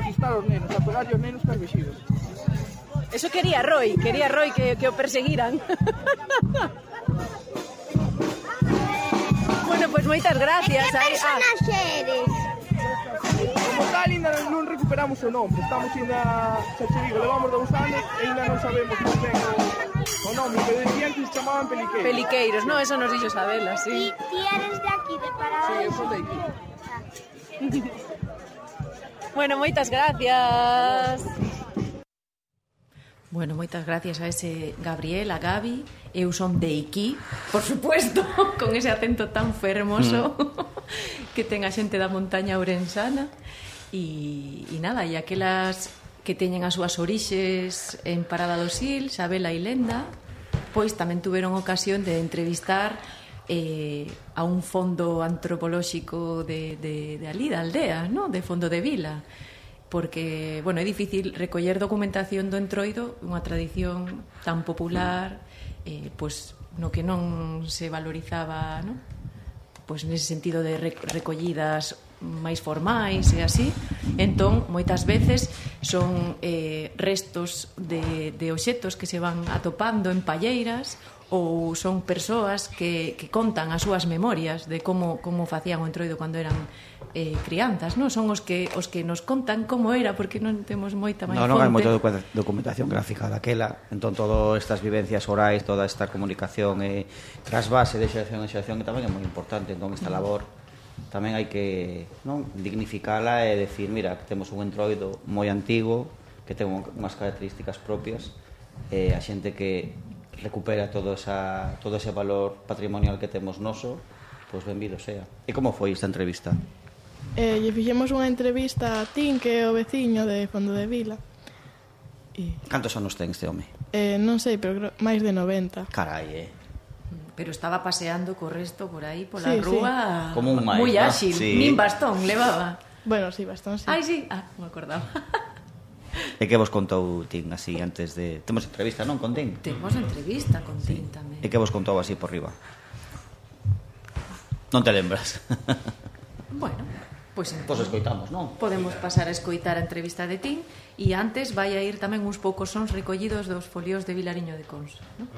asustar os nenos, a pegarlle os nenos cas vexigos. Eso quería Roy que o perseguiran. Bueno, pois moitas gracias. Que personas eres? Como tal, ainda non recuperamos o nome. Estamos ainda, xa che digo, levamos 2 anos e ainda non sabemos moi ben o nome, pero decían que se chamaban Peliqueiros. Peliqueiros, no, eso nos dixo Sabela, sí. Ti eres de aquí, de Parada. Sí, eu son de aquí. Bueno, moitas gracias. Bueno, moitas gracias a ese Gabriel, a Gabi. Eu son de Iquí, por supuesto, con ese acento tan fermoso que ten a xente da montaña ourensana. E nada, e aquelas que teñen as súas orixes en Parada do Sil, Sabela e Lenda, pois tamén tuveron ocasión de entrevistar a un fondo antropolóxico de ali, da aldea, ¿no? De Fondo de Vila, porque, bueno, é difícil recoller documentación do Entroido, unha tradición tan popular, pois no que non se valorizaba, ¿no? Pois nese sentido de recollidas máis formais e así. Entón, moitas veces son restos de obxetos que se van atopando en palleiras, ou son persoas que contan as súas memorias de como facían o Entroido cando eran crianzas, non? Son os que nos contan como era, porque non temos moita máis fonte. Non hai moita documentación gráfica daquela, entón todas estas vivencias orais, toda esta comunicación trasvase de xeración en xeración, que tamén é moi importante. Entón esta labor tamén hai que dignificala e decir, mira, que temos un Entroido moi antigo, que ten unhas características propias, e a xente que recupera todo ese valor patrimonial que temos noso, pois benvido sea. E como foi esta entrevista? Lle fixemos unha entrevista a Tim, que é o veciño de Fondo de Vila. Cantos anos ten este home? Non sei, pero máis de 90. Carai, Pero estaba paseando co resto por aí, pola rúa, como un máis, moi áxil, sí. nin bastón levaba. Bueno, sí, bastón, sí. Ai, sí, me acordaba. E que vos contou Tim así antes de... Temos entrevista, non, con Tim? Temos entrevista con Tim tamén. E que vos contou así por riba? Non te lembras? Bueno, pois escoitamos, non? Podemos pasar a escoitar a entrevista de Tim, e antes vai a ir tamén uns poucos sons recollidos dos folios de Vilariño de Conso, non?